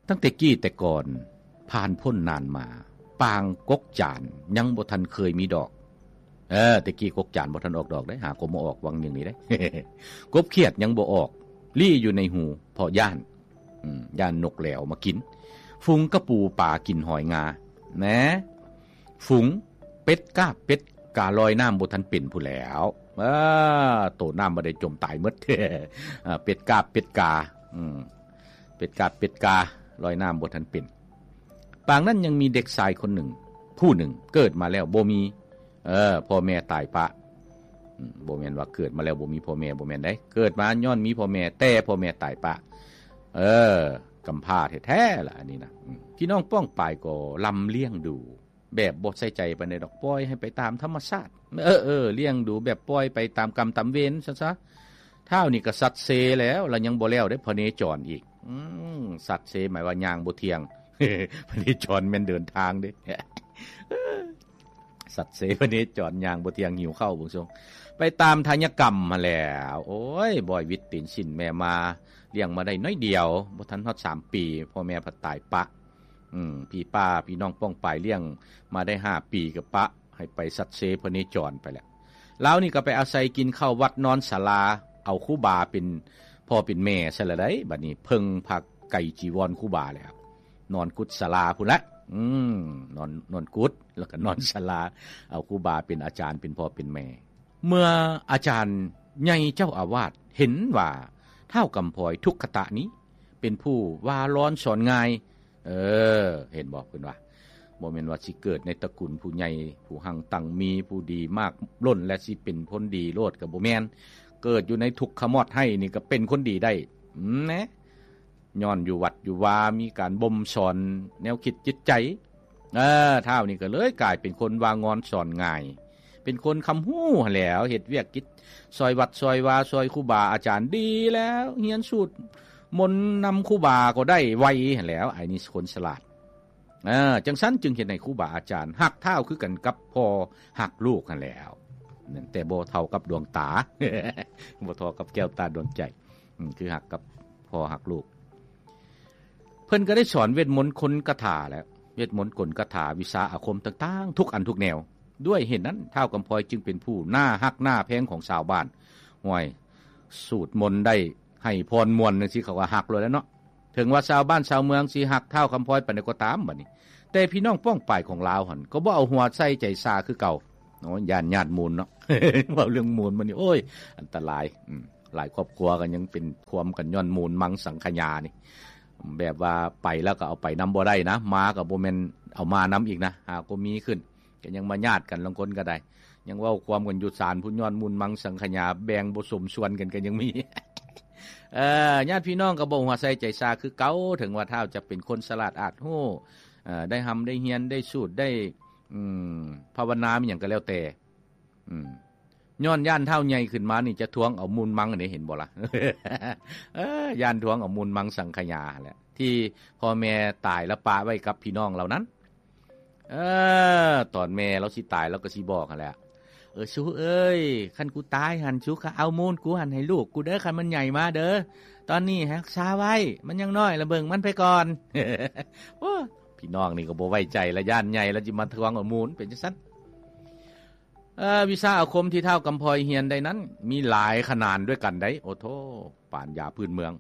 ຕັ້ງແຕ່ກີ້ແຕ່ກ່ອນ ຜ່ານພົ້ນນານມາ ປາງກົກຈານຍັງບໍ່ທັນເຄີຍມີດອກ. ເອີ ແຕ່ກີ້ກົກຈານບໍ່ທັນອອກດອກເດ້ ຫາກໍມາອອກຫວ່າງໜຶ່ງນີ້ເດ້. ກົບຂຽດຍັງບໍ່ອອກ ລີ້ຢູ່ໃນຮູ ເພາະຢ້ານ ອືມ ຢ້ານນົກແຫຼວມາກິນ. ຝູງກະປູປາກິນຫອຍງາ ແນ ຝູງເປັດກາບເປັດກາລອຍນ້ຳບໍ່ທັນເປັນພຸ້ນແຫຼວ. ເອີ ໂຕນ້ຳບໍ່ໄດ້ຈົມຕາຍໝົດ. ເປັດກາບເປັດກາ ອືມ ເປັດກາບເປັດກາລອຍນ້ຳບໍ່ທັນເປັນ. ປາງນັ້ນຍັງມີເດັກຊາຍຄົນໜຶ່ງ ຜູ້ໜຶ່ງເກີດມາແລ້ວບໍ່ມີ ເອີ ພໍ່ແມ່ຕາຍປະ. ອືມ ບໍ່ແມ່ນວ່າເກີດມາແລ້ວບໍ່ມີພໍ່ແມ່ ບໍ່ແມ່ນໃດ. ເກີດມາຍ້ອນມີພໍ່ແມ່ ແຕ່ພໍ່ແມ່ຕາຍປະ. ເອີ ກຳພ້າແທ້ໆລະອັນນີ້ນະ. ອືມ ພີ່ນ້ອງປ້ອງປາຍກໍລຳລ້ຽງດູ ແບບບໍ່ໃສ່ໃຈປານໃດດອກ ປ່ອຍໃຫ້ໄປຕາມທຳມະຊາດ. ເອີໆ ລ້ຽງດູແບບປ່ອຍໄປຕາມກຳຕາມເວນຊັ້ນຊະ. ທ້າວນີ້ກໍສັດເຊແລ້ວ ລະຍັງບໍ່ແລ້ວເດ້ ພະເນຈອນອີກ. ອືມ ສັດເຊໝາຍວ່າຍ່າງບໍ່ທ່ຽງ ພະເນຈອນແມ່ນເດີນທາງເດ້. ສັດເຊພະເນຈອນຍ່າງບໍ່ທ່ຽງ ຫິວເຂົ້າເບິ່ງຊົງ ໄປຕາມທາຍະກຳຫັ້ນແຫຼ້ວ. ໂອ້ຍ ບອຍວິດຕີນສິ້ນແມ່ມາ ລ້ຽງມາໄດ້ໜ້ອຍດຽວ ບໍ່ທັນຮອດສາມປີ ພໍ່ແມ່ພັດຕາຍປະ. ອືມ ພີ່ປ້າພີ່ນ້ອງປ້ອງປາຍລ້ຽງມາໄດ້ຫ້າປີກໍປະໃຫ້ໄປສັດເຊພະເນຈອນໄປແລ້ວ. ລາວນີ້ກໍໄປອາໄສກິນເຂົ້າວັດນອນສາລາ ເອົາຄູບາເປັນພໍ່ເປັນແມ່ຊະລະໃດ໋. ບັດນີ້ເພິ່ງຜ້າໄກຈີວອນຄູບາແລ້ວ ນອນກຸດສາລາພຸ້ນແຫຼະ. ອືມ ນອນ ນອນກຸດ ແລ້ວກໍນອນສາລາ ເອົາຄູບາເປັນອາຈານ ເປັນພໍ່ເປັນແມ່. ເມື່ອອາຈານໃຫຍ່ເຈົ້າອາວາດເຫັນວ່າທ້າວກຳພອຍທຸກຄະຕະນີ້ ເປັນຜູ້ວ່າລອນສອນງ່າຍ. ເອີ ເຫັນບໍ່ ເພິ່ນວ່າ ບໍ່ແມ່ນວ່າຊິເກີດໃນຕະກຸນຜູ້ໃຫຍ່ ຜູ້ຮັ່ງຕັ້ງມີ ຜູ້ດີມາກລົ້ນ ແລະ ຊິເປັນຄົນດີໂລດ ກໍບໍ່ແມ່ນ. ເກີດຢູ່ໃນທຸກຂະມອດໄຮ້ນີ້ ກໍເປັນຄົນດີໄດ້. ອືມ ແນ ຍ້ອນຢູ່ວັດຢູ່ວາ ມີການບົ່ມສອນແນວຄິດຈິດໃຈ. ເອີ ທ້າວນີ້ກໍເລີຍກາຍເປັນຄົນວ່າງອນສອນງ່າຍ ເປັນຄົນຄຳຮູ້ຫັ້ນແຫຼ້ວ ເຮັດວຽກກິດຊ່ອຍວັດຊ່ອຍວາ ຊ່ອຍຄູບາອາຈານດີແລ້ວ ຮຽນສູດມົນນຳຄູບາກໍໄດ້ໄວຫັ້ນແຫຼ້ວ. ໄອ້ນີ້ຄົນສະຫຼາດ. ເອີ ຈັ່ງຊັ້ນຈຶ່ງເຮັດໃຫ້ຄູບາອາຈານຮັກທ້າວຄືກັນກັບພໍ່ຮັກລູກຫັ້ນແຫຼ້ວ ແຕ່ບໍ່ເທົ່າກັບດວງຕາ ບໍ່ເທົ່າກັບແກ້ວຕາດວງໃຈ. ອືມ ຄືຮັກກັບພໍ່ຮັກລູກ. ເພິ່ນກໍໄດ້ສອນເວດມົນຄົນຄາຖາແຫຼະ ເວດມົນກົນຄາຖາ ວິຊາອາຄົມຕ່າງໆ ທຸກອັນທຸກແນວ. ດ້ວຍເຫດນັ້ນ ທ້າວກຳພອຍຈຶ່ງເປັນຜູ້ໜ້າຮັກໜ້າແພງຂອງຊາວບ້ານ. ຫ້ວຍ ສູດມົນໄດ້ໃຫ້ພອນມ່ວນຈັ່ງຊີ້ ເຂົາກໍຮັກໂລດແຫຼະເນາະ. ເຖິງວ່າຊາວບ້ານຊາວເມືອງຊິຮັກທ້າວກຳພອຍປານໃດກໍຕາມ ບັດນີ້ ແຕ່ພີ່ນ້ອງປ້ອງປາຍຂອງລາວຫັ້ນ ກໍບໍ່ເອົາຫົວໃສ່ໃຈຊາຄືເກົ່າ. ໂອ້ຍ ຢ້ານຍາດມູນເນາະ ເວົ້າເລື່ອງມູນມັນນີ້ ໂອ້ຍ ອັນຕະລາຍ. ອືມ ຫຼາຍຄອບຄົວກໍຍັງເປັນຄວາມກັນຍ້ອນມູນມັງສັງຂະຍານີ້ ແບບວ່າໄປແລ້ວກໍເອົາໄປນຳບໍ່ໄດ້ນະ ມາກໍບໍ່ແມ່ນເອົາມານຳອີກນະ ຫາກໍມີຂຶ້ນ ກໍຍັງມາຍາດກັນ ລາງຄົນກໍໄດ້ ຍັງເວົ້າຄວາມກັນຢູ່ສານພຸ້ນ ຍ້ອນມູນມັງສັງຂະຍາ ແບ່ງບໍ່ສົມສ່ວນກັນກໍຍັງມີ. ເອີ ຍາດພີ່ນ້ອງກໍບໍ່ຫົວໃສ່ໃຈຊາຄືເກົ່າ ເຖິງວ່າທ້າວຈະເປັນຄົນສະຫຼາດອາດຮູ້ ເອີ ໄດ້ຮ່ຳໄດ້ຮຽນ ໄດ້ສູດ ໄດ້ ອືມ ພາວະນາ ມີຫຍັງກໍແລ້ວແຕ່ ອືມ ຍ້ອນຢ້ານທ້າວໃຫຍ່ຂຶ້ນມານີ້ຈະທວງເອົາມູນມັງນີ້ ເຫັນບໍ່ລະ? ເອີ ຢ້ານທວງເອົາມູນມັງສັງຂະຍາແຫຼະ ທີ່ພໍ່ແມ່ຕາຍແລ້ວປະໄວ້ກັບພີ່ນ້ອງເຫຼົ່ານັ້ນ. ເອີ ຕອນແມ່ລາວຊິຕາຍ ລາວກໍຊິບອກຫັ້ນແຫຼະ ເອີ ສູເອີຍ ຄັນກູຕາຍຫັ້ນ ສູກໍເອົາມູນກູຫັ້ນໃຫ້ລູກກູເດີ ຄັນມັນໃຫຍ່ມາເດີ ຕອນນີ້ຮັກສາໄວ້ ມັນຍັງນ້ອຍລະເບິ່ງມັນໄປກ່ອນ. ໂອ້ ພີ່ນ້ອງນີ້ກໍບໍ່ໄວ້ໃຈລະ ຢ້ານໃຫຍ່ລະຊິມາທວງເອົາມູນ ເປັນຈັ່ງຊັ້ນ. ເອີ ວິຊາອາຄົມທີ່ທ້າວກຳພອຍຮຽນໄດ້ນັ້ນ ມີຫຼາຍຂະໜານດ້ວຍກັນໄດ໋. ໂອ້ໂທ້ ປານຢາພື້ນເມືອງ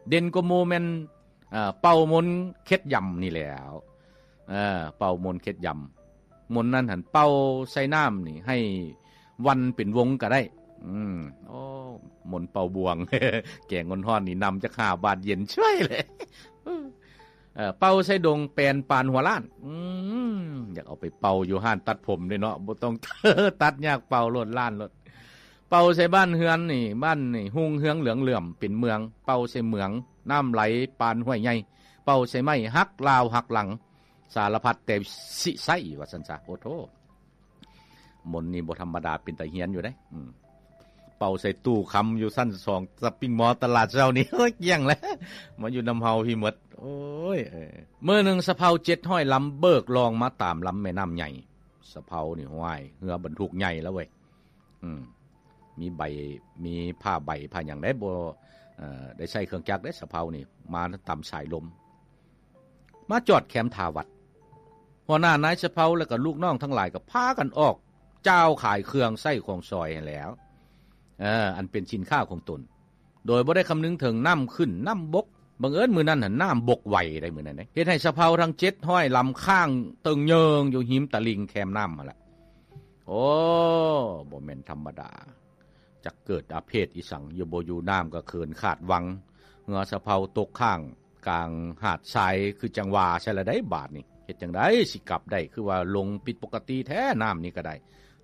ເດັ່ນກວ່າໝູ່ແມ່ນ ເອີ ເປົ່າມົນເຂັດຢຳນີ້ແຫຼ້ວ. ເອີ ເປົ່າມົນເຂັດຢຳ ມົນນັ້ນຫັ້ນເປົ່າໃສ່ນ້ຳນີ້ ໃຫ້ວັນເປັນວົງກໍໄດ້. ອືມ ໂອ້ ມົນເປົ່າບວງ ແກງຮ້ອນໆນີ້ ນ້ຳຈັກຫ້າບາດ ເຢັນຊ່ວຍເລີຍ. ເອີ ເປົ່າໃສ່ດົງແປນປານຫົວລ້ານ. ອືມ ຢາກເອົາໄປເປົ່າຢູ່ຮ້ານຕັດຜົມເດ້ເນາະ ບໍ່ຕ້ອງຕັດ ຍາກເປົ່າໂລດ ລ້ານໂລດ. ເປົ່າໃສ່ບ້ານເຮືອນນີ້ ບ້ານນີ້ຮຸ່ງເຮືອງເຫຼືອງເຫຼື້ອມເປັນເມືອງ. ເປົ່າໃສ່ເມືອງ ນ້ຳໄຫຼປານຫ້ວຍໃຫຍ່. ເປົ່າໃສ່ໄມ້ ຮັກລາວຮັກຫຼັງ ສາລະພັດແຕ່ຊິໃຊ້ ວ່າຊັ້ນຊະ. ໂອ້ໂທ້ ມົນນີ້ບໍ່ທຳມະດາ ເປັນຕາຮຽນຢູ່ເດ້. ອືມ ເປົ່າໃສ່ຕູ້ຄຳຢູ່ຊັ້ນສອງ ຊັອບປິງມໍ ຕະຫຼາດເຊົ້ານີ້ ໂອ້ຍ ກ້ຽງແລ້ວ ມາຢູ່ນຳເຮົາພີ້ໝົດ. ໂອ້ຍ ເອີ ມື້ໜຶ່ງສະເພົາເຈັດຮ້ອຍລຳ ເບີກລ່ອງມາຕາມລຳແມ່ນ້ຳໃຫຍ່. ສະເພົານີ້ ຫ້ວຍ ເຮືອບັນທຸກໃຫຍ່ແລ້ວເວີຍ. ອືມ ມີໃບ ມີຜ້າໃບຜ້າຫຍັງໄດ໋ ບໍ່ ເອີ ໄດ້ໃຊ້ເຄື່ອງຈັກເດ້ ສະເພົານີ້ ມາຕາມສາຍລົມ. ມາຈອດແຄມທ່າວັດ. ຫົວໜ້ານາຍສະເພົາ ແລະກໍລູກນ້ອງທັງຫຼາຍກໍພາກັນອອກຈ້າວຂາຍເຄື່ອງໃຊ້ຂອງສອຍຫັ້ນແຫຼ້ວ ເອີ ອັນເປັນສິນຄ້າຂອງຕົນ ໂດຍບໍ່ໄດ້ຄຳນຶງເຖິງນ້ຳຂຶ້ນນ້ຳບົກ. ບັງເອີນມື້ນັ້ນຫັ້ນນ້ຳບົກໄວໄດ໋ ມື້ນັ້ນເດ ເຮັດໃຫ້ສະເພົາທັງເຈັດຮ້ອຍລຳຄ້າງເຕີງເຍີງຢູ່ຮິມຕະລິ່ງແຄມນ້ຳຫັ້ນລະ. ໂອ້ ບໍ່ແມ່ນທຳມະດາ ຈັກເກີດອາເພດອີ່ສັງ ຢູ່ບໍ່ຢູ່ນ້ຳກໍເຂີນຂາດວັງ ເຮືອສະເພົາຕົກຄ້າງກາງຫາດຊາຍ ຄືຈັ່ງວ່າໃຊ່ລະໄດ໋ບາດນີ້. ເຮັດຈັ່ງໃດຊິກັບໄດ້ ຄືວ່າລົງຜິດປົກກະຕິແທ້ນ້ຳນີ້ກໍໄດ້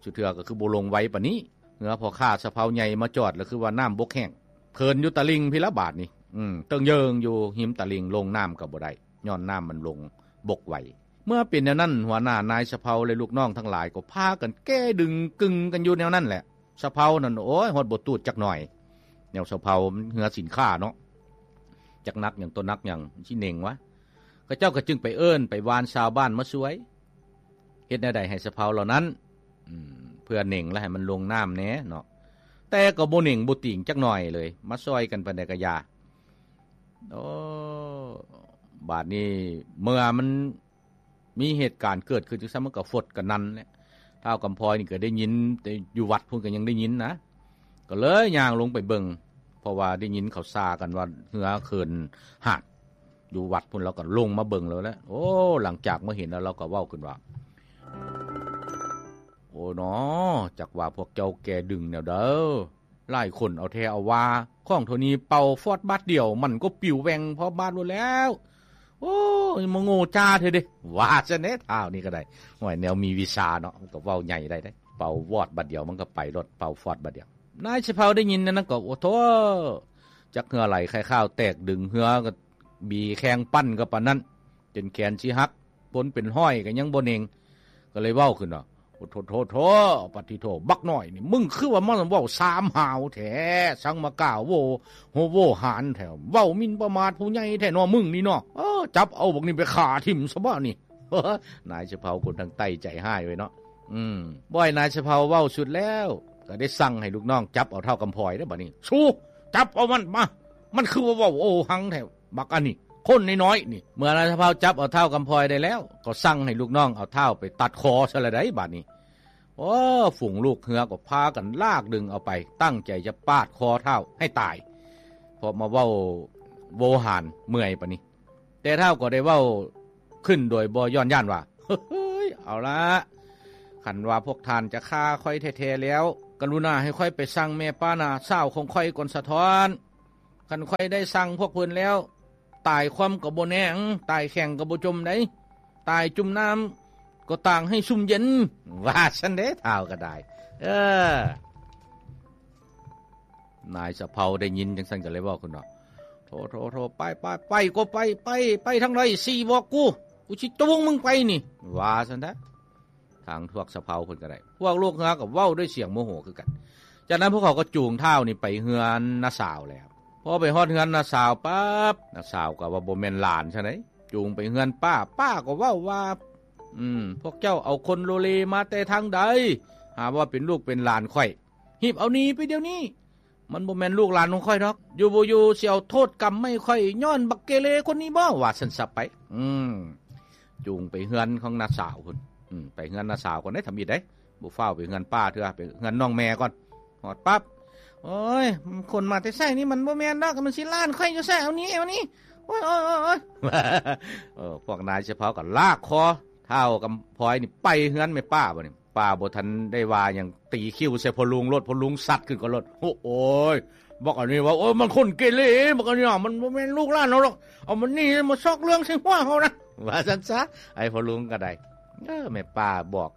ສຸເທື່ອກໍຄືບໍ່ລົງໄວປານນີ້. ເຮືອພໍ່ຄ້າສະເພົາໃຫຍ່ມາຈອດ ລະຄືວ່ານ້ຳບົກແຫ້ງ ເຂີນຢູ່ຕະລິ່ງພີ້ລະບາດນີ້ ອືມ ເຕີງເຍີງຢູ່ຮິມຕະລິ່ງ ລົງນ້ຳກໍບໍ່ໄດ້ ຍ້ອນນ້ຳມັນລົງບົກໄວ. ເມື່ອເປັນແນວນັ້ນ ຫົວໜ້ານາຍສະເພົາ ແລະ ລູກນ້ອງທັງຫຼາຍກໍພາກັນແກ້ດຶງກຶ່ງກັນຢູ່ແນວນັ້ນແຫຼະ. ສະເພົານັ້ນ ໂອ້ຍ ຮອດບໍ່ຕູດຈັກໜ່ອຍ ແນວສະເພົາມັນເຮືອສິນຄ້າເນາະ ຈັກໜັກຫຍັງ ຕົວໜັກຫຍັງ ມັນຊິເໜັງວະ. ເຂົາເຈົ້າກໍຈຶ່ງໄປເອີ້ນໄປວານຊາວບ້ານມາຊ່ວຍ ເຮັດແນວໃດໃຫ້ສະເພົາເຫຼົ່ານັ້ນ ອືມ ເພື່ອເໜັງ ແລະ ໃຫ້ມັນລົງນ້ຳແດ່ເນາະ. ແຕ່ກໍບໍ່ເໜັງບໍ່ຕີງຈັກໜ່ອຍເລີຍ ມາຊ່ອຍກັນປານໃດກໍຢ່າ. ໂອ້ ບາດນີ້ເມື່ອມັນມີເຫດການເກີດຂຶ້ນຈັ່ງຊັ້ນ ມັນກໍຟົດກະນັນແຫຼະ. ທ້າວກຳພອຍນີ້ກໍໄດ້ຍິນ ແຕ່ຢູ່ວັດພຸ້ນກໍຍັງໄດ້ຍິນນະ ກໍເລີຍຍ່າງລົງໄປເບິ່ງ ເພາະວ່າໄດ້ຍິນເຂົາຊ່າກັນວ່າເຮືອເຂີນຫາດຢູ່ວັດພຸ້ນ ລາວກໍລົງມາເບິ່ງແລ້ວແຫຼະ. ໂອ້ ຫຼັງຈາກມາເຫັນແລ້ວ ລາວກໍເວົ້າຂຶ້ນວ່າ ໂອ້ໜໍ ຈັກວ່າພວກເຈົ້າແກ່ດຶງແນວໃດ ຫຼາຍຄົນເອົາແທ້ເອົາວ່າ ຂອງເທົ່ານີ້ເປົ່າຟອດບາດດຽວ ມັນກໍປິວແຫວ່ງພອບບາດໂລດແລ້ວ. ໂອ້ຍ ມາໂງ່ຈ້າແທ້ເດ ວ່າຊັ້ນເດ ທ້າວນີ້ກໍໄດ້. ໂອ້ຍ ແນວມີວິຊາເນາະ ມັນກໍເວົ້າໃຫຍ່ໄດ້ເດ້ ເປົ່າວອດບາດດຽວມັນກໍໄປໂລດ ເປົ່າຟອດບາດດຽວ. ນາຍສະເພົາໄດ້ຍິນແນວນັ້ນກໍ ໂອ້ໂທ້ ຈັກເຫື່ອໄຫຼໄຂ່ຂາວແຕກ ດຶງເຮືອກໍບີແຂ່ງປັ່ນກັບປານນັ້ນ ຈົນແຂນຊິຫັກ ຄົນເປັນຮ້ອຍກໍຍັງບໍ່ເໜັງ ກໍເລີຍເວົ້າຂຶ້ນວ່າ ໂອ້ໂທ້ໂທ້ໂທ້ ປະຕິໂທ ບັກນ້ອຍນີ້ ມຶງຄືວ່າມາເວົ້າສາມຫາວແທ້ ສັງມາກ້າໂວໂຫໂວຫານແທ້ ເວົ້າໝິ່ນປະໝາດຜູ້ໃຫຍ່ແທ້ເນາະ ມຶງນີ້ເນາະ. ເອີ ຈັບເອົາບັກນີ້ໄປຂ້າຖິ້ມຊະບາດນີ້. ນາຍສະເພົາຄົນທາງໃຕ້ໃຈຮ້າຍເວີຍເນາະ. ອືມ ບໍ່ໃຫ້ນາຍສະເພົາເວົ້າສຸດແລ້ວ ກໍໄດ້ສັ່ງໃຫ້ລູກນ້ອງຈັບເອົາທ້າວກຳພອຍເດ້ ບາດນີ້ ສູ ຈັບເອົາມັນມາ ມັນຄືວ່າເວົ້າໂອຫັງແທ້ ບັກອັນນີ້ ຄົນນ້ອຍໆນີ້. ເມື່ອນາຍສະເພົາຈັບເອົາທ້າວກຳພອຍໄດ້ແລ້ວ ກໍສັ່ງໃຫ້ລູກນ້ອງເອົາທ້າວໄປຕັດຄໍຊະລະໄດ໋ບາດນີ້. ໂອ້ ຝູງລູກເຮືອກໍພາກັນລາກດຶງເອົາໄປ ຕັ້ງໃຈຈະປາດຄໍທ້າວໃຫ້ຕາຍ ເພາະມາເວົ້າໂວຫານເມື່ອຍປານນີ້. ແຕ່ທ້າວກໍໄດ້ເວົ້າຂຶ້ນໂດຍບໍ່ຢ້ອນຢ້ານວ່າ ເຮີ້ຍ ເອົາລະ ຄັນວ່າພວກທ່ານຈະຂ້າຂ້ອຍແທ້ໆແລ້ວ ກະລຸນາໃຫ້ຂ້ອຍໄປສັ່ງແມ່ປ້ານ້າສາວຂອງຂ້ອຍກ່ອນສະທ້ອນ. ຄັນຂ້ອຍໄດ້ສັ່ງພວກເພິ່ນແລ້ວ ຕາຍຄວ່ຳກໍບໍ່ແນ່ ຕາຍແຂງກໍບໍ່ຈົມໃດ໋ ຕາຍຈຸ່ມນ້ຳກໍຕ່າງໃຫ້ຊຸ່ມເຢັນ ວ່າຊັ້ນເດ້ ທ້າວກໍໄດ້. ເອີ ນາຍສະເພົາໄດ້ຍິນຈັ່ງຊັ້ນກໍເລີຍເວົ້າຂຶ້ນວ່າ ໂທ້ໆໆ ໄປໆ ໄປກໍໄປ ໄປ ໄປທາງໃດ ຊີ້ບອກກູ ກູຊິຈູງມຶງໄປນີ້ ວ່າຊັ້ນແທ້. ທາງພວກສະເພົາເພິ່ນກໍໄດ້ ພວກລູກເຮືອກໍເວົ້າດ້ວຍສຽງໂມໂຫຄືກັນ. ຈາກນັ້ນພວກເຂົາກໍຈູງທ້າວນີ້ໄປເຮືອນນ້າສາວແລ້ວ. ພໍໄປຮອດເຮືອນນ້າສາວປັບ ນ້າສາວກໍວ່າບໍ່ແມ່ນຫຼານຊະໃດ໋ ຈູງໄປເຮືອນປ້າ ປ້າກໍເວົ້າວ່າ ອືມ ພວກເຈົ້າເອົາຄົນໂລເລມາແຕ່ທາງໃດ ຫາວ່າເປັນລູກເປັນຫຼານຂ້ອຍ ຮີບເອົາໜີໄປດຽວນີ້ ມັນບໍ່ແມ່ນລູກຫຼານຂອງຂ້ອຍດອກ ຢູ່ບໍ່ຢູ່ຊິເອົາໂທດກຳໃຫ້ຂ້ອຍ ຍ້ອນບັກເກເລຄົນນີ້ບໍ ວ່າຊັ້ນຊະໄປ. ອືມ ຈູງໄປເຮືອນຂອງນ້າສາວພຸ້ນ ອືມ ໄປເຮືອນນ້າສາວກ່ອນເດ້ ທຳອິດເດ້ ບໍ່ຟ້າວໄປເຮືອນປ້າເທື່ອ ໄປເຮືອນນ້ອງແມ່ກ່ອນ. ຮອດປັບ ໂອ້ຍ ຄົນມາແຕ່ໃສນີ້ ມັນບໍ່ແມ່ນດອກ ມັນຊິຫຼານຂ້ອຍຢູ່ໃສ ເອົາໜີ ເອົາໜີ ໂອ້ຍ ໂອ້ຍ ໂອ້ຍ ໂອ້ຍ. ເອີ ພວກນາຍສະເພົາກໍລາກຄໍທ້າວກຳພອຍນີ້ໄປເຮືອນແມ່ປ້າ ບາດນີ້ ປ້າບໍ່ທັນໄດ້ວ່າຫຍັງ ຕີຄິ້ວໃສ່ພໍ່ລຸງໂລດ ພໍ່ລຸງຊັດຂຶ້ນກ່ອນໂລດ ໂອ້ຍ ບັກອັນນີ້ວ່າ ໂອ້ຍ ມັນຄົນເກເລ ບັກອັນນີ້ ມັນບໍ່ແມ່ນລູກຫຼານເຮົາດອກ ເອົາມັນໜີ ມາຊອກເລື່ອງໃສ່ຫົວເຮົານະ ວ່າຊັ້ນຊະ. ໄອ້ພໍ່ລຸງກໍໄດ້ ເອີ ແມ່ປ້າບອກ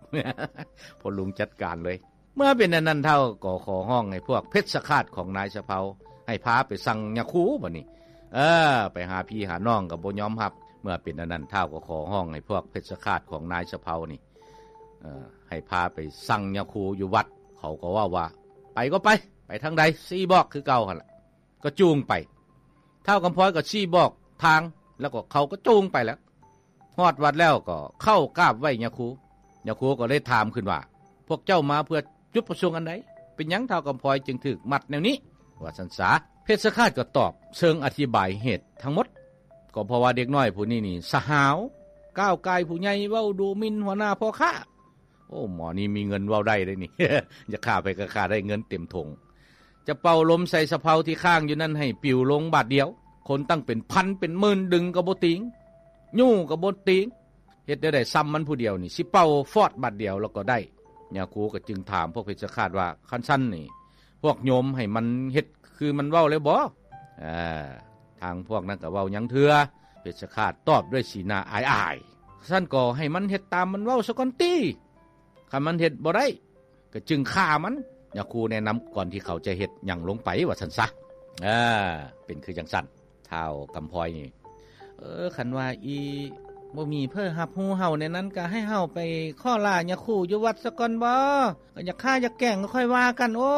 ພໍ່ລຸງຈັດການເລີຍ. ເມື່ອເປັນອັນນັ້ນ ທ້າວກໍຂໍຮ້ອງໃຫ້ພວກເພັດສະຄາດຂອງນາຍສະເພົາ ໃຫ້ພາໄປສັ່ງຍາຄູ ບາດນີ້ ເອີ ໄປຫາພີ່ຫານ້ອງກໍບໍ່ຍອມຮັບ. ເມື່ອເປັນອັນນັ້ນ ທ້າວກໍຂໍຮ້ອງໃຫ້ພວກເພັດສະຄາດຂອງນາຍສະເພົານີ້ ເອີ ໃຫ້ພາໄປສັ່ງຍາຄູຢູ່ວັດ. ເຂົາກໍເວົ້າວ່າ ໄປກໍໄປ ໄປທາງໃດ ຊີ້ບອກຄືເກົ່າຫັ້ນລະ. ກໍຈູງໄປ ທ້າວກຳພອຍກໍຊີ້ບອກທາງ ແລ້ວກໍເຂົາກໍຈູງໄປແລ້ວ. ຮອດວັດແລ້ວກໍເຂົ້າກາບໄຫວ້ຍາຄູ ຍາຄູກໍເລີຍຖາມຂຶ້ນວ່າ ພວກເຈົ້າມາເພື່ອຈຸດປະສົງອັນໃດ ເປັນຫຍັງທ້າວກຳພອຍຈຶ່ງຖືກມັດແນວນີ້ ວ່າຊັ້ນສາ. ເພັດສະຄາດກໍຕອບເຊີງອະທິບາຍເຫດທັງໝົດ ກໍເພາະວ່າເດັກນ້ອຍຜູ້ນີ້ນີ້ສະຫາວ, ກ້າວກ່າຍຜູ້ໃຫຍ່, ເວົ້າດູໝິ່ນຫົວໜ້າພໍ່ຄ້າ. ໂອ້ ໝໍນີ້ມີເງິນເວົ້າໄດ້ເດ້ນີ້. ຢາກຂ້າໃຜກໍຂ້າໄດ້, ເງິນເຕັມຖົງ. ຈະເປົ່າລົມໃສ່ສະເເພົາທີ່ຄ້າງຢູ່ນັ້ນໃຫ້ປິວລົງບາດດຽວ. ຄົນຕັ້ງເປັນພັນເປັນໝື່ນດຶງກໍບໍ່ຕີງ, ຍູ້ກໍບໍ່ຕີງ. ເຮັດແນວໃດ ຊ່ຳມັນຜູ້ດຽວນີ້ ຊິເປົ່າຟອດບາດດຽວແລ້ວກໍໄດ້. ຍາຄູກໍຈຶ່ງຖາມພວກເພັດຊະຄາດວ່າ ຄັນຊັ້ນນີ້ ພວກໂຍມໃຫ້ມັນເຮັດຄືມັນເວົ້າແລ້ວບໍ? ເອີ ທາງພວກນັ້ນກໍເວົ້າຫຍັງເທື່ອ. ເພັດຊະຄາດຕອບດ້ວຍສີໜ້າອາຍໆ. ຊັ້ນກໍໃຫ້ມັນເຮັດຕາມມັນເວົ້າສາກ່ອນຕິ. ຄັນມັນເຮັດບໍ່ໄດ້ ກໍຈຶ່ງຂ້າມັນ. ຍາຄູແນະນຳກ່ອນທີ່ເຂົາຈະເຮັດຫຍັງລົງໄປ ວ່າຊັ້ນຊະ. ເອີ ເປັນຄືຈັ່ງຊັ້ນ. ທ້າວກຳພອຍນີ້ ເອີ ຄັນວ່າອີ່ ບໍ່ມີໃຜຮັບຮູ້ເຮົາແນວນັ້ນ ກໍໃຫ້ເຮົາໄປຂໍລາຍາຄູຢູ່ວັດສາກ່ອນບໍ? ກໍຢາກຂ້າຢາກແກງກໍຄ່ອຍວ່າກັນ. ໂອ້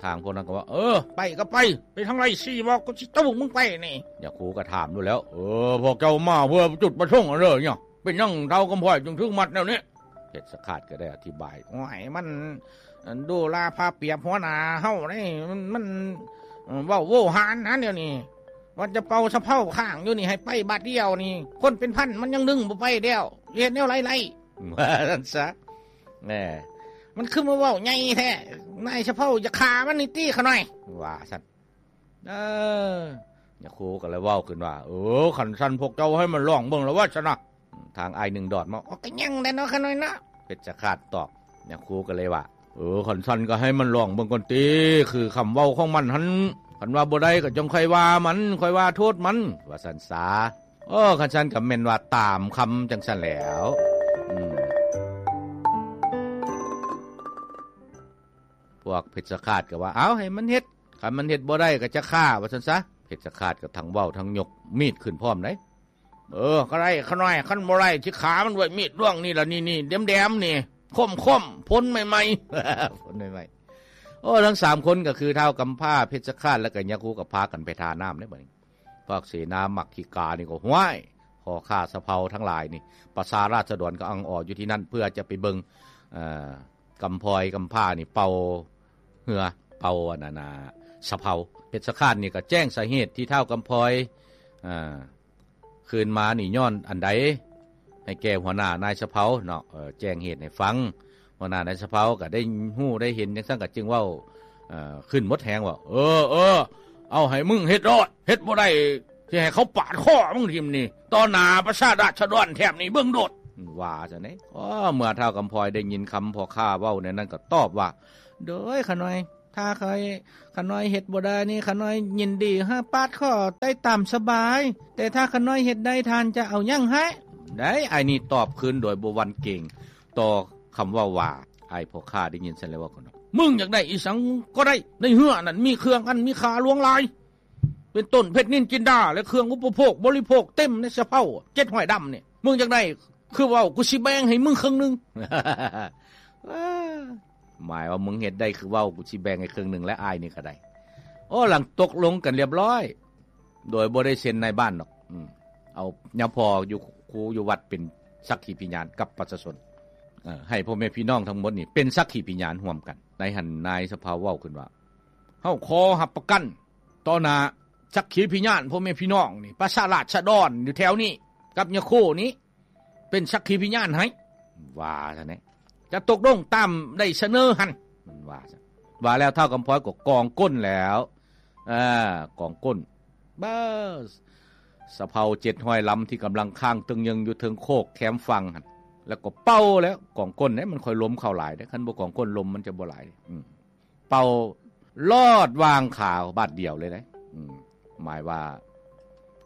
ທາງພວກນັ້ນກໍວ່າ ເອີ ໄປກໍໄປ, ໄປທາງໃດຊີ້ ບອກ ກູຊິໂຕ້ມຶງໄປນີ້. ຍາຄູກໍຖາມໂລດແລ້ວ ເອີ ພວກເຈົ້າມາເພື່ອຈຸດປະສົງອັນໃດເນາະ? ເປັນຫຍັງທ້າວກຳພອຍຈຶ່ງຖືກມັດແນວນີ້? ເພັດຊະຄາດກໍໄດ້ອະທິບາຍ ໂອ້ຍ ມັນດູລາພາປຽບຫົວໜ້າເຮົາເດ້ ມັນ ມັນເວົ້າໂວຫານນະດຽວນີ້ ວ່າຈະເປົ່າສະເເພົາຄ້າງຢູ່ນີ້ໃຫ້ໄປບາດດຽວນີ້ ຄົນເປັນພັນມັນຍັງດຶງບໍ່ໄປແລ້ວ ເຮັດແນວໃດໄດ້ ວ່າຊັ້ນຊະ. ແນ່ ມັນຄືມາເວົ້າໃຫຍ່ແທ້ ນາຍສະເເພົາຢາກຂ້າມັນນີ້ຕິຂ້ານ້ອຍ ວ່າຊັ້ນ. ເອີ ຍາຄູກໍເລີຍເວົ້າຂຶ້ນວ່າ ເອີ ຄັນຊັ້ນພວກເຈົ້າໃຫ້ມັນລອງເບິ່ງລະວ່າຊັ້ນນະ. ທາງອ້າຍໜຶ່ງດອດມາ ໂອ້ ກໍຍັງແດ່ເນາະຂ້ານ້ອຍເນາະ ເພັດຊະຄາດຕອບ. ຍາຄູກໍເລີຍວ່າ ເອີ ຄັນຊັ້ນກໍໃຫ້ມັນລອງເບິ່ງກ່ອນຕິ ຄືຄຳເວົ້າຂອງມັນຫັ້ນ ຄັນວ່າບໍ່ໄດ້ກໍຈັ່ງຄ່ອຍວ່າມັນ ຄ່ອຍວ່າໂທດມັນ ວ່າຊັ້ນສາ. ເອີ ຄັນຊັ້ນກໍແມ່ນວ່າຕາມຄຳຈັ່ງຊັ້ນແລ້ວ. ອືມ ພວກເພັດຊະຄາດກໍວ່າ ເອົາ ໃຫ້ມັນເຮັດ ຄັນມັນເຮັດບໍ່ໄດ້ກໍຈະຂ້າ ວ່າຊັ້ນສາ. ເພັດຊະຄາດກໍທັງເວົ້າທັງຍົກມີດຂຶ້ນພ້ອມໃດ. ເອີ ກໍໄດ້ຂ້ານ້ອຍ ຄັນບໍ່ໄດ້ຊິຂ້າມັນດ້ວຍມີດດວງນີ້ລະ ນີ້ໆ ແດມໆ ນີ້ ຄົມໆ ພົນໃໝ່ໆ ພົນໃໝ່ໆ. ໂອ້ ທັງສາມຄົນກໍຄືທ້າວກຳພ້າ ເພັດຊະຄາດ ແລ້ວກໍຍາຄູກໍພາກັນໄປທ່ານ້ຳເດ້ບັດນີ້. ພວກເສນາມັກຂີ້ການີ້ກໍ ຫ້ວຍ ພໍ່ຄ້າສະເເພົາທັງຫຼາຍນີ້ ປະຊາລາຊະດອນກໍອັ່ງອໍຢູ່ທີ່ນັ້ນ ເພື່ອຈະໄປເບິ່ງ ເອີ ກຳພອຍກຳພ້ານີ້ເປົ່າເຮືອ ເປົ່າອັນນັ້ນນະ ສະເເພົາ. ເພັດຊະຄາດນີ້ກໍແຈ້ງສາເຫດທີ່ທ້າວກຳພອຍ ເອີ ຄືນມານີ້ຍ້ອນອັນໃດ ໃຫ້ແກ່ຫົວໜ້ານາຍສະເເພົາເນາະ ເອີ ແຈ້ງເຫດໃຫ້ຟັງ. ຫົວໜ້ານາຍສະເເພົາກໍໄດ້ຮູ້ໄດ້ເຫັນຈັ່ງຊັ້ນ ກໍຈຶ່ງເວົ້າ ເອີ ຂຶ້ນໝົດແຮງວ່າ ເອີ ເອີ ເອົາໃຫ້ມຶງເຮັດໂລດ ເຮັດບໍ່ໄດ້ ຊິໃຫ້ເຂົາປາດຄໍມຶງຖິ້ມນີ້ ຕໍ່ໜ້າປະຊາລາຊະດອນແຖບນີ້ເບິ່ງໂລດ ວ່າຊັ້ນເດ້. ເມື່ອທ້າວກຳພອຍໄດ້ຍິນຄຳພໍ່ຄ້າເວົ້າແນວນັ້ນ ກໍຕອບວ່າ ໂດຍ ຂ້ານ້ອຍ ຖ້າຂ້ານ້ອຍເຮັດບໍ່ໄດ້ນີ້ ຂ້ານ້ອຍຍິນດີໃຫ້ປາດຄໍໄດ້ຕາມສະບາຍ ແຕ່ຖ້າຂ້ານ້ອຍເຮັດໄດ້ ທ່ານຈະເອົາຫຍັງໃຫ້? ໄດ້ ອ້າຍນີ້ຕອບຄືນໂດຍບໍ່ຫວັ່ນເກງຕໍ່ຄຳເວົ້າວ່າ. ອ້າຍພໍ່ຄ້າໄດ້ຍິນຊັ້ນແລ້ວເວົ້າກັນວ່າ ມຶງຢາກໄດ້ອີ່ສັງກໍໄດ້ ໃນເຮືອນັ້ນມີເຄື່ອງອັນມີຄ່າຫຼວງຫຼາຍ ເປັນຕົ້ນເພັດນິນຈິນດາ ແລະ ເຄື່ອງອຸປະໂພກບໍລິໂພກເຕັມໃນສະເເພົາເຈັດຫ້ອຍດຳນີ້ ມຶງຢາກໄດ້ຄືເວົ້າ ກູຊິແບ່ງໃຫ້ມຶງເຄິ່ງໜຶ່ງ. ໝາຍວ່າມຶງເຮັດໄດ້ຄືເວົ້າ ກູຊິແບ່ງໃຫ້ເຄິ່ງໜຶ່ງ ແລະ ອ້າຍນີ້ກໍໄດ້. ໂອ້ ຫຼັງຕົກລົງກັນລຽບລ້ອຍ ໂດຍບໍ່ໄດ້ເຊັນນາຍບ້ານດອກ ອືມ ເອົາຍາພໍ່ຢູ່ຄູຢູ່ວັດເປັນສັກຂີພະຍານກັບປະຊາຊົນ ເອີ ໃຫ້ພໍ່ແມ່ພີ່ນ້ອງທັງໝົດນີ້ເປັນສັກຂີພະຍານຮ່ວມກັນ. ໃນຫັ້ນນາຍສະເເພົາເວົ້າຂຶ້ນວ່າ ເຮົາຂໍຮັບປະກັນຕໍ່ໜ້າສັກຂີພະຍານພໍ່ແມ່ພີ່ນ້ອງນີ້ ປະຊາລາຊະດອນຢູ່ແຖວນີ້ກັບຍາໂຄນີ້ ເປັນສັກຂີພະຍານໃຫ້ ວ່າຊັ້ນເດ້ ຈະຕົກລົງຕາມໄດ້ສະເໜີຫັ້ນ ວ່າຊັ້ນ. ວ່າແລ້ວທ້າວກຳພອຍກໍກອງກົ້ນແລ້ວ ເອີ ກອງກົ້ນ ບາ ສະເເພົາເຈັດຮ້ອຍລຳທີ່ກຳລັງຄ້າງຕຶງເຍີງຢູ່ເທິງໂຄກແຄມຝັ່ງຫັ້ນ ແລ້ວກໍເປົ່າແລ້ວ ກອງກົ້ນເດ້ ມັນຄ່ອຍລົມເຂົ້າຫຼາຍເດ້ ຄັນບໍ່ກອງກົ້ນລົມມັນຈະບໍ່ຫຼາຍ ອືມ ເປົ່າລອດຫວ່າງຂາບາດດຽວເລີຍເດ້ ອືມ ໝາຍວ່າ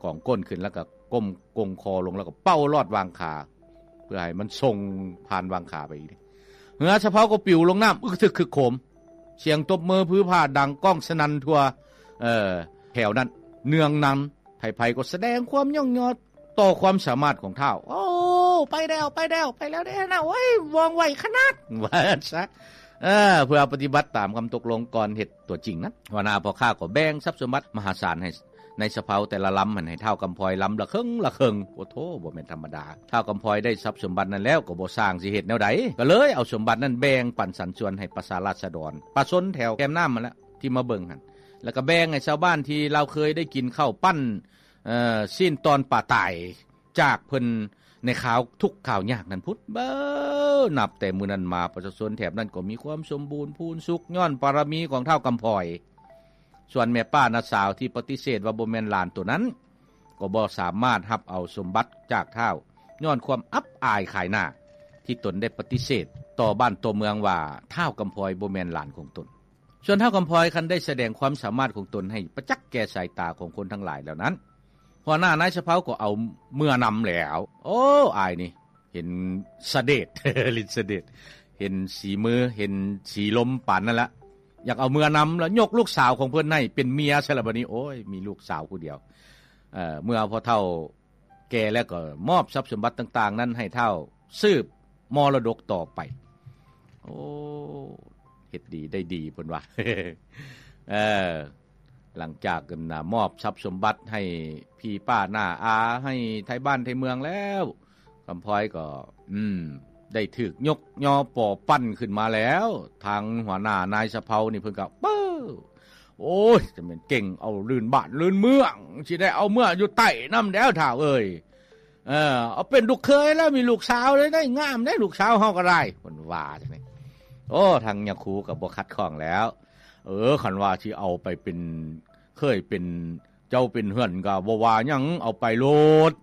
ກອງກົ້ນຂຶ້ນ ແລ້ວກໍກົ້ມກົງຄໍລົງ ແລ້ວກໍເປົ່າລອດຫວ່າງຂາ ເພື່ອໃຫ້ມັນສົ່ງຜ່ານຫວ່າງຂາໄປອີກເດ້. ເຮືອສະເເພົາກໍປິວລົງນ້ຳ ອຶກທຶກຄຶກໂຄມ ສຽງຕົບມືຜືຜາດັງກ້ອງສະໜັ່ນທົ່ວ ເອີ ແຖວນັ້ນເນືອງນຳ ໃຜໆກໍສະແດງຄວາມຍ້ອງຍໍຕໍ່ຄວາມສາມາດຂອງທ້າວ. ໂອ້ ໄປແລ້ວ ໄປແລ້ວ ໄປແລ້ວເດ້ນະ ໂອ້ຍ ວ່ອງໄວຂະໜາດ ວ່າຊັ້ນຊະ. ເອີ ເພື່ອປະຕິບັດຕາມຄຳຕົກລົງກ່ອນເຮັດຕົວຈິງນັ້ນ ຫົວໜ້າພໍ່ຄ້າກໍແບ່ງຊັບສົມບັດມະຫາສານໃຫ້ນາຍສະເເພົາແຕ່ລະລຳຫັ້ນ ໃຫ້ທ້າວກຳພອຍລຳລະເຄິ່ງລະເຄິ່ງ. ໂອ້ໂທ້ ບໍ່ແມ່ນທຳມະດາ. ທ້າວກຳພອຍໄດ້ຊັບສົມບັດນັ້ນແລ້ວ ກໍບໍ່ຊ່າງຊິເຮັດແນວໃດ ກໍເລີຍເອົາສົມບັດນັ້ນແບ່ງປັນສັນສ່ວນໃຫ້ປະຊາລາຊະດອນ ປະຊາຊົນແຖວແຄມນ້ຳຫັ້ນແຫຼະ ທີ່ມາເບິ່ງຫັ້ນ ແລ້ວກໍແບ່ງໃຫ້ຊາວບ້ານທີ່ລາວເຄີຍໄດ້ກິນເຂົ້າປັ້ນ ເອີ ຊີ້ນຕອນປາຕາຍຈາກເພິ່ນໃນຄາວທຸກຄາວຍາກນັ້ນພຸ້ນ. ເບີ ນັບແຕ່ມື້ນັ້ນມາ ປະຊາຊົນແຖບນັ້ນກໍມີຄວາມສົມບູນພູນສຸກ ຍ້ອນບາລະມີຂອງທ້າວກຳພອຍ. ສ່ວນແມ່ປ້ານ້າສາວທີ່ປະຕິເສດວ່າບໍ່ແມ່ນຫຼານໂຕນັ້ນ ກໍບໍ່ສາມາດຮັບເອົາສົມບັດຈາກທ້າວ ຍ້ອນຄວາມອັບອາຍຂາຍໜ້າ ທີ່ຕົນໄດ້ປະຕິເສດຕໍ່ບ້ານຕໍ່ເມືອງວ່າ ທ້າວກຳພອຍບໍ່ແມ່ນຫຼານຂອງຕົນ. ສ່ວນທ້າວກຳພອຍຄັນໄດ້ສະແດງຄວາມສາມາດຂອງຕົນໃຫ້ປະຈັກແກ່ສາຍຕາຂອງຄົນທັງຫຼາຍແລ້ວນັ້ນ ຫົວໜ້ານາຍສະເພົາກໍເອົາເມືອນຳແລ້ວ. ໂອ້ ອາຍນີ້ ເຫັນສະເດດ ລິດສະເດດ ເຫັນສີມື ເຫັນສີລົມປານນັ້ນລະ ຢາກເອົາເມືອນຳ ແລ້ວຍົກລູກສາວຂອງເພິ່ນໃຫ້ເປັນເມຍຊະລະບາດນີ້. ໂອ້ຍ ມີລູກສາວຜູ້ດຽວ. ເອີ ເມື່ອພໍ່ເຖົ້າແກ່ແລ້ວກໍມອບຊັບສົມບັດຕ່າງໆນັ້ນໃຫ້ທ້າວສືບມໍລະດົກຕໍ່ໄປ. ໂອ້ ເຮັດດີໄດ້ດີເພິ່ນວ່າ. ເອີ ຫຼັງຈາກນັ້ນນະ ມອບຊັບສົມບັດໃຫ້ພີ່ປ້ານ້າອາ ໃຫ້ໄທບ້ານໄທເມືອງແລ້ວ ກຳພອຍກໍ ອືມ ໄດ້ຖືກຍົກຍໍປໍປັ້ນຂຶ້ນມາແລ້ວ. ທາງຫົວໜ້ານາຍສະເພົານີ້ເພິ່ນກໍ ເປີ້ ໂອ້ຍ ຈະແມ່ນເກັ່ງເອົາລື່ນບ້ານລື່ນເມືອງ ຊິໄດ້ເອົາເມືອຢູ່ໃຕ້ນຳແລ້ວທ້າວເອີຍ. ເອີ ເອົາເປັນລູກເຂີຍແລ້ວ ມີລູກສາວເລີຍໄດ໋ ງາມເດ້ລູກສາວເຮົາກໍໄດ້ ເພິ່ນວ່າຈັ່ງນີ້. ໂອ້ ທາງຍາຄູກໍບໍ່ຂັດຂ້ອງແລ້ວ. ເອີ ຄັນວ່າຊິເອົາໄປເປັນເຂີຍ ເປັນເຈົ້າເປັນເຮືອນກໍບໍ່ວ່າຫຍັງ ເອົາໄປໂລດ.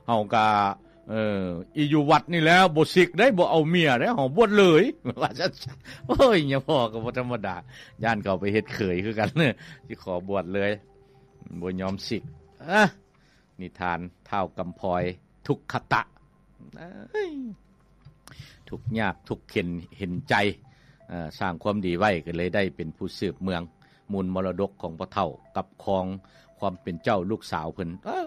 ເຮົາກໍ ເອີ ອີຢູ່ວັດນີ້ແຫຼະ ບໍ່ສິກເດ້ ບໍ່ເອົາເມຍເດ້ ເຮົາບວດເລີຍ ວ່າຊັ້ນ. ໂອ້ຍ ຍາພໍ່ກໍບໍ່ທຳມະດາ ຢ້ານເຂົາໄປເຮັດເຂີຍຄືກັນ ຊິຂໍບວດເລີຍ ບໍ່ຍອມສິກ. ອາ ນິທານທ້າວກຳພອຍທຸກຂະຕະ ເອີຍ ທຸກຍາກທຸກເຂັນເຫັນໃຈ ເອີ ສ້າງຄວາມດີໄວ້ ກໍເລີຍໄດ້ເປັນຜູ້ສືບເມືອງ ມູນມໍລະດົກຂອງພໍ່ເຖົ້າ ກັບຄອງຄວາມເປັນເຈົ້າລູກສາວເພິ່ນ. ເອີ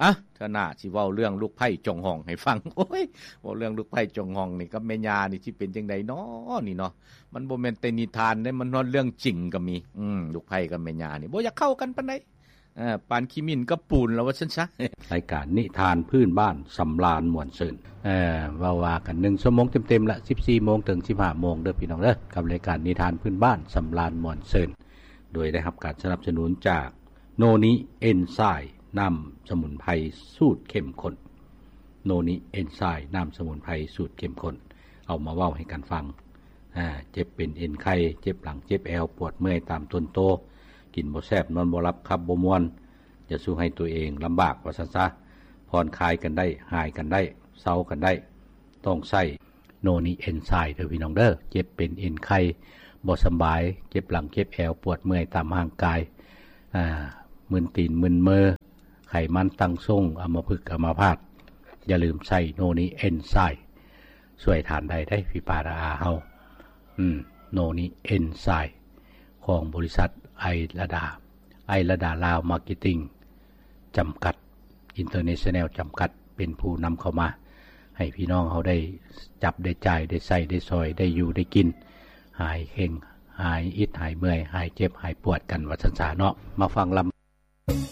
ອະ ເທື່ອໜ້າຊິເວົ້າເລື່ອງລູກໃພ້ຈອງຮອງໃຫ້ຟັງ. ໂອ້ຍ ເວົ້າເລື່ອງລູກໃພ້ຈອງຮອງນີ້ກັບແມ່ຍ່ານີ້ ຊິເປັນຈັ່ງໃດນໍນີ້ເນາະ. ມັນບໍ່ແມ່ນແຕ່ນິທານເດ້ ມັນຮອດເລື່ອງຈິງກໍມີ. ອືມ ລູກໃພ້ກັບແມ່ຍ່ານີ້ບໍ່ຢາກເຂົ້າກັນປານໃດ. ເອີ ປານຂີ້ໝິ່ນກັບປູນລະວ່າຊັ້ນຊະ. ລາຍການນິທານພື້ນບ້ານສຳລານມ່ວນຊື່ນ ເອີ ເວົ້າວ່າກັນໜຶ່ງຊົ່ວໂມງເຕັມໆລະ ສິບສີ່ໂມງເຖິງສິບຫ້າໂມງເດີພີ່ນ້ອງເດີ ກັບລາຍການນິທານພື້ນບ້ານສຳລານມ່ວນຊື່ນ ໂດຍໄດ້ຮັບການສະໜັບສະໜູນຈາກໂນນິເອັນໄຊ ນ້ຳສະໝຸນໄພສູດເຂັ້ມຂຸ້ນ. ໂນນິເອັນໄຊ ນ້ຳສະໝຸນໄພສູດເຂັ້ມຂຸ້ນ ເອົາມາເວົ້າໃຫ້ກັນຟັງ. ອາ ເຈັບເປັນເອັນໄຂ່ ເຈັບຫຼັງ ເຈັບແອວ ປວດເມື່ອຍຕາມຕົນໂຕ ກິນບໍ່ແຊບ ນອນບໍ່ຫຼັບ ຂັບບໍ່ມ່ວນ ຢ່າສູ່ໃຫ້ຕົວເອງລຳບາກວ່າຊັ້ນຊະ. ຜ່ອນຄາຍກັນໄດ້ ຫາຍກັນໄດ້ ເຊົາກັນໄດ້ ຕ້ອງໃຊ້ໂນນິເອັນໄຊເດີພີ່ນ້ອງເດີ. ເຈັບເປັນເອັນໄຂ່ ບໍ່ສຳບາຍ ເຈັບຫຼັງ ເຈັບແອວ ປວດເມື່ອຍຕາມຮ່າງກາຍ ອາ ມຶນຕີນ ມຶນມື ໄຂມັນຕັ້ງຊົງ ອຳມະພຶກ ອຳມະພາດ ຢ່າລືມໃຊ້ໂນນິເອັນໄຊ ຊ່ວຍທ່ານໄດ້ເດ້ພີ່ປ້ານ້າອາເຮົາ. ອືມ ໂນນິເອັນໄຊ ຂອງບໍລິສັດໄອລະດາ ໄອລະດາລາວມາເກັດຕິງ ຈຳກັດ ອິນເຕີເນຊັນແນວ ຈຳກັດ ເປັນຜູ້ນຳເຂົ້າມາ ໃຫ້ພີ່ນ້ອງເຮົາໄດ້ຈັບໄດ້ຈ່າຍ ໄດ້ໃຊ້ໄດ້ສອຍ ໄດ້ຢູ່ໄດ້ກິນ ຫາຍເຄັ່ງ ຫາຍອິດຫາຍເມື່ອຍ ຫາຍເຈັບຫາຍປວດກັນວ່າຊັ້ນຊະເນາະ. ມາຟັງລຳ